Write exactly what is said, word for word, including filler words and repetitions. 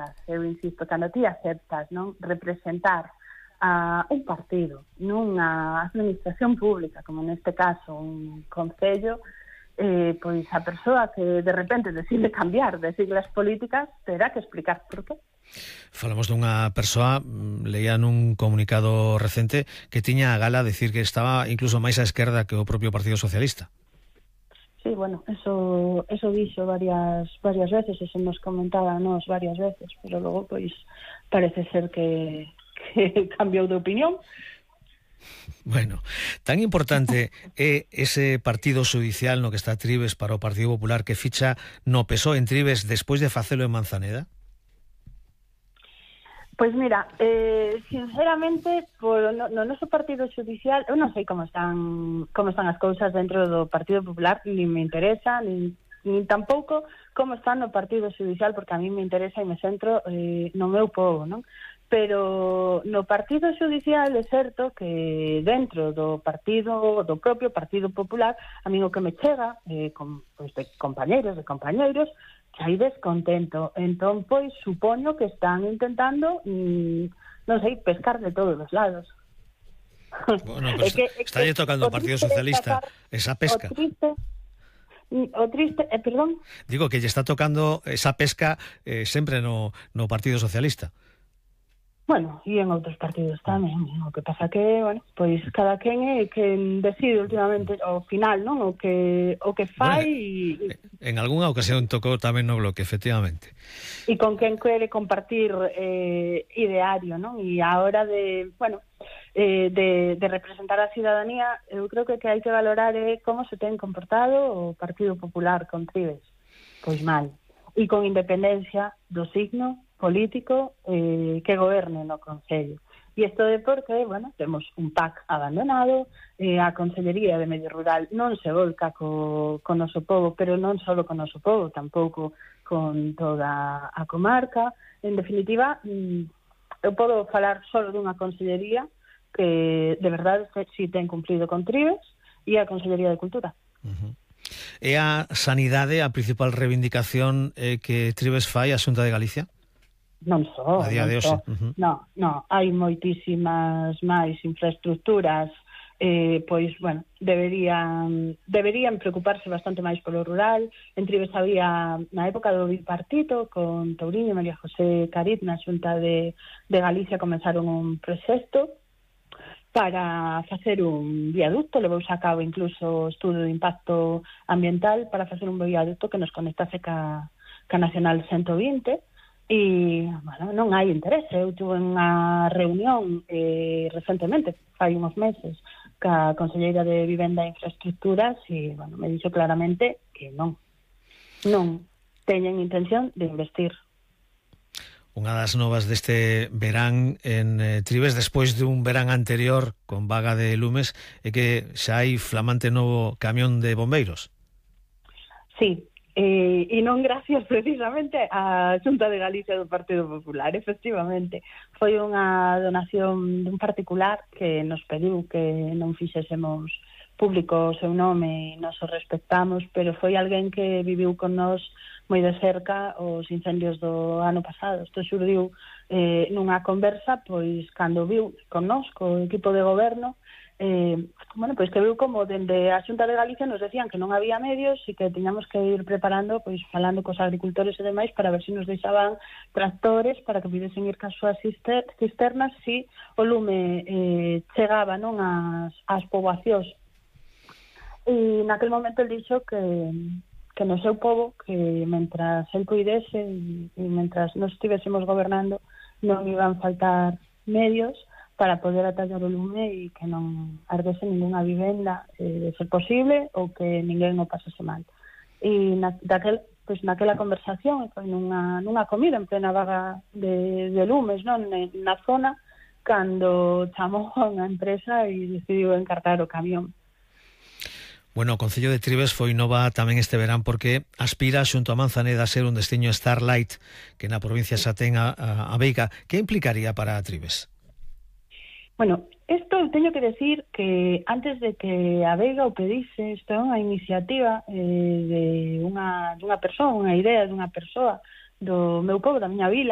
aceptas, eu insisto, cando ti aceptas, non, representar a un partido nunha administración pública, como neste caso un concello, eh, pois a persoa que de repente decide cambiar de siglas políticas terá que explicar por qué. Falamos dunha persoa, leía nun comunicado recente, que tiña a gala decir que estaba incluso máis á esquerda que o propio Partido Socialista. Sí, bueno, eso eso dixo varias varias veces, eso nos comentaba nos varias veces, pero logo pois parece ser que, que cambiou de opinión. Bueno, tan importante é ese partido judicial no que está Trives para o Partido Popular que ficha no P S O E en Trives despois de facelo en Manzaneda? Pois mira, eh, sinceramente, por, no, no noso partido judicial, eu non sei como están como están as cousas dentro do Partido Popular, nin me interesa, nin, nin tampouco como está no Partido Judicial, porque a mí me interesa e me centro eh, no meu povo, non? Pero no Partido Judicial é certo que dentro do partido, do propio Partido Popular, a mí o que me chega eh, con, pois de compañeiros, de compañeiros, que hai descontento. Entón, pois, supoño que están intentando, mmm, non sei, pescar de todos os lados. Bueno, pero está, está tocando o Partido Socialista esa pesca. O triste, o triste eh, perdón? Digo que lle está tocando esa pesca eh, sempre no, no Partido Socialista. Bueno, e en outros partidos tamén. O que pasa que, bueno, pois cada quen é quen decide últimamente ao final, non? O que o que fai bueno, e en algunha ocasión tocou tamén no Bloque, efectivamente. E con quen quere compartir eh, ideario, non? E a hora de, bueno, eh, de, de representar a cidadanía, eu creo que que hai que valorar é como se ten comportado o Partido Popular con Trives. Pois mal. E con independencia do signo político eh, que goberne no Concello. E isto é porque, bueno, temos un P A C abandonado, eh, a Consellería de Medio Rural non se volca co, co noso povo, pero non só co noso povo, tampouco con toda a comarca. En definitiva, eu podo falar só dunha Consellería que, de verdade, si ten cumplido con Trives e a Consellería de Cultura. Uh-huh. É a sanidade a principal reivindicación eh, que Trives fai a Xunta de Galicia? Non só, a día de hoxe. Uh-huh. No, no, hai moitísimas máis infraestructuras, eh, pois, bueno, deberían deberían preocuparse bastante máis polo rural. En Trives había, na época do bipartito, con Touriño e María José Cariz, na Xunta de, de Galicia, comenzaron un proxecto para facer un viaducto, levouse a cabo incluso estudo de impacto ambiental para facer un viaducto que nos conectase ca, ca Nacional ciento vinte. E, bueno, non hai interese. Eu tuve unha reunión eh, recentemente, fai uns meses, ca Conselleira de Vivenda e Infraestructuras e, bueno, me dixo claramente que non. Non teñen intención de investir. Unha das novas deste verán en eh, Trives, despois dun verán anterior con vaga de lumes, é que xa hai flamante novo camión de bombeiros. Sí. Eh, e non gracias precisamente á Xunta de Galicia do Partido Popular, efectivamente. Foi unha donación dun particular que nos pediu que non fixésemos público o seu nome e nos o respectamos, pero foi alguén que viviu con nós moi de cerca os incendios do ano pasado. Isto xurdiu eh, nunha conversa, pois, cando viu con nós, co equipo de goberno, Eh, bueno, pois que viu como dende a Xunta de Galicia nos decían que non había medios e que tiñamos que ir preparando, pois falando cos agricultores e demais para ver se nos deixaban tractores para que pudesen ir cas súas cisternas si o lume eh, chegaba, non, ás, ás poboacións. E naquel momento el dixo que que no seu povo, que mentras el cuidese e, e mentras nos estivésemos gobernando non iban faltar medios para poder atallar o lume e que non ardese ninguna vivenda, eh, de ser posible, ou que ninguén o pasase mal. E na, daquel, pois, naquela conversación, foi nunha, nunha comida en plena vaga de, de lumes, non, na zona, cando chamou a unha empresa e decidiu encargar o camión. Bueno, o Concello de Trives foi nova tamén este verán porque aspira xunto a Manzaneda a ser un destiño Starlight que na provincia xa ten a, a, a Veiga. Que implicaría para Trives? Bueno, isto teño que decir que antes de que a Veiga o pedise, isto é unha iniciativa eh, de unha, dunha persoa, unha idea dunha persoa do meu povo, da miña vila,